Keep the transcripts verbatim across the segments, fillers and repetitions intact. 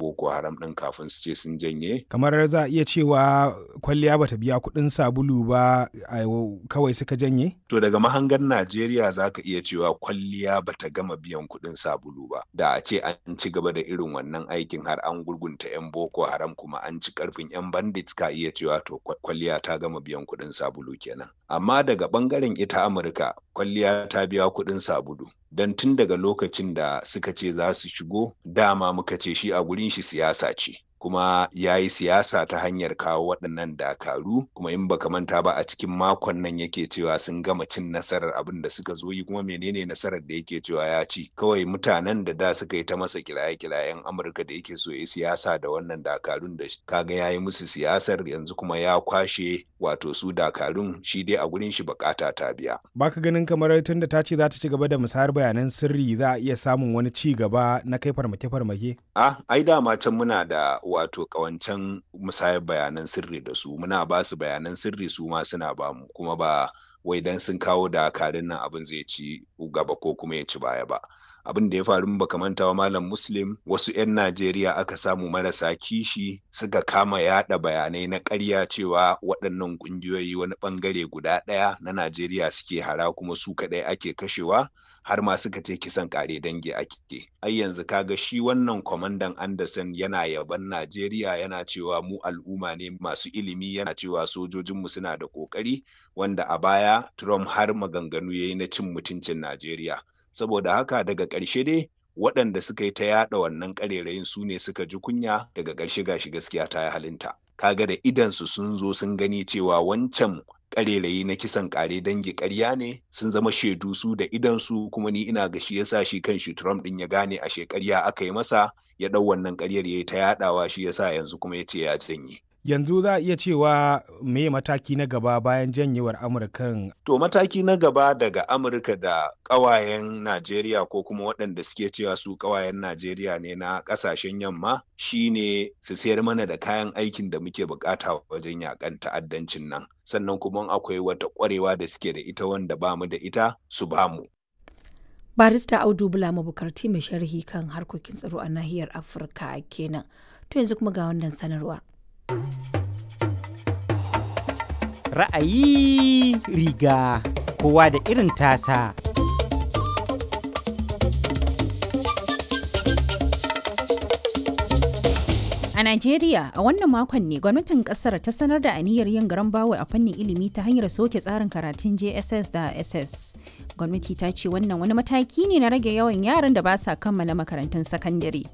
Boko Haram ɗin kafin su ce sun janye. Kamar za a iya cewa kwalliya bata biya kuɗin sabulu ba kawai suka janye? To daga mahangar Najeriya za ka iya cewa kwalliya bata gama biyan kuɗin sabulu ba. Da a ce an ci gaba da irin wannan aikin har an gurgunta 'yan Boko Haram kuma an ci karfin 'yan bandits, ka iya cewa to kwalliya ta gama biyan kuɗin sabulu kenan. Amma daga ɓangaren ita Amurka, kwalliya ta biya kuɗin sabulu. Don tun daga lokacin da suka ce za su shigo, dama muka ce shi a gurin shi siyasa ce. Kuma ya yi siyasa ta hanyar kawo waɗannan dakaru. Kuma in baka manta ba, a cikin makon nan yake cewa sun gama cin nasarar abin da suka zo yi. Kuma menene nasarar da yake cewa ya ci? Kawai mutanen da da suka yi ta masa kiraye-kirayen Amurka da yake so ya siyasa da wannan dakarun, da kaga ya yi musu siyasar, yanzu kuma ya kwashe wato su dakarun. Shi dai a gurin shi bukata ta biya. Baka ganin kamar tunda ta ce za ta ci gaba da musayar bayanan sirri, za a iya samun wani ci gaba na kai farmake-farmake? Ah, ai dama can muna da wato kawancan musayar bayanan sirri da su. Muna ba su bayanan sirri, su ma suna ba mu. Kuma ba wai dan sun kawo dakarun nan abin zai ci gaba ko kuma ya ci baya ba. Abin da ya faru, baka manta wa Malam Muslim, wasu 'yan Najeriya aka samu marasa kishi suka kama yada bayanai na ƙarya cewa waɗannan ƙungiyoyi wani ɓangare guda ɗaya na Najeriya suke hara, kuma su kaɗai ake kashewa, har ma suka ce kisan kare dangi ake. Ai yanzu kaga shi wannan kwamandan Anderson yana yaban Najeriya, yana cewa mu al'umma ne masu ilimi, yana cewa sojojinmu suna da kokari, wanda a baya Trump har maganganu yayi na cin mutuncin Najeriya. Saboda haka daga ƙarshe dai waɗanda suka yi ta yaɗa wannan ƙarerayin su ne suka ji kunya. Daga ƙarshe gashi gaskiya ta yi halinta. Kaga da idansu sun zo sun gani cewa wancan ƙarerayi na kisan ƙare dangi ƙarya ne. Sun zama shaidu su da idansu. Kuma ni ina ga shi yasa shi kan shi Trump ɗin ya gane ashe ƙarya aka yi masa, ya ɗau wannan ƙaryar ya yi ta yaɗawa, shi yasa yanzu kuma ya ce ya janye. Yanzu za a iya cewa me mataki na gaba bayan janyewar Amurkan? To mataki na gaba daga Amurka da ƙawayen Najeriya, ko kuma waɗanda suke cewa su ƙawayen Najeriya ne na ƙasashen yamma, shine su sayar mana da kayan aikin da muke bukata wajen yakan ta'addancin nan. Sannan kuma akwai wata ƙwarewa da suke da ita wanda ba mu da ita, su ba mu. Barista Audu Bula Mabukarti, mai sharhi kan harkokin tsaro a nahiyar Afirka kenan. To yanzu kuma ga wannan sanarwa. Ra'ayi riga kowa da irin tasa. A Najeriya, a wannan makon ne gwamnatin kasar ta sanar da aniyar yin garan bawul a fannin ilimi ta hanyar soke tsarin karatun J S S da S S. Gwamnati ta ce wannan wani mataki ne na rage yawan yaran da ba sa kammala makarantun sakandare.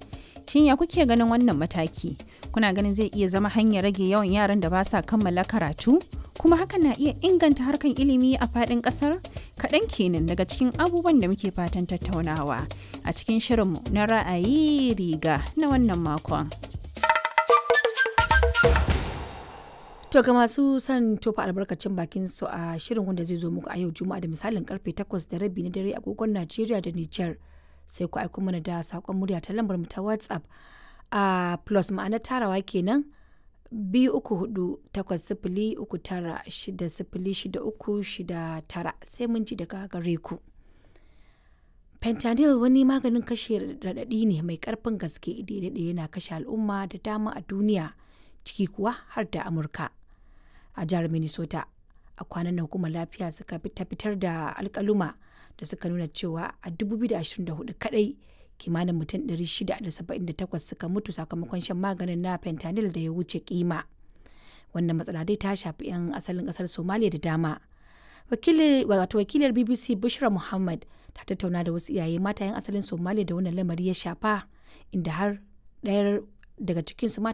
Shin ya kuke ganin wannan mataki? Kuna ganin zai iya zama hanyar rage yawan yaran da ba sa kammala karatu? Kuma hakan na iya inganta harkan ilimi a faɗin ƙasar? Kaɗan kenan daga cikin abubuwan da muke fatan tattaunawa a cikin shirinmu na ra'ayi riga na wannan makon. To ga masu son tofa albarkacin bakin su a shirin wanda zai zo muku a yau Juma'a da misalin karfe takwas da rabi na dare agogon Najeriya da Nijar, sai ku aiko mana da sakon murya ta lambar mu ta WhatsApp a plus, ma'ana tarawa kenan, biyu uku hudu takwas sifili uku tara shida sifili shida uku shida tara. Sai mun ji daga gare ku. Fentanyl wani maganin kashe raɗaɗi ne mai ƙarfin gaske da ya daɗe yana kashe al'umma da dama a duniya, ciki kuwa har da Amurka. A jihar Minnesota, a kwanan nan hukumar lafiya suka ta fitar da alkaluma da suka nuna cewa a dubu biyu da ashirin da huɗu kadai kimanin mutum ɗari shida da saba'in da takwas suka mutu sakamakon shan maganin na fentanyl da ya wuce kima. Wannan matsala dai ta shafi 'yan asalin kasar Somalia da dama. Wato wakilar B B C Bushra Muhammad ta tattauna da wasu iyaye mata 'yan asalin Somalia da wannan lamari ya shafa, inda har ɗayar daga cikinsu ma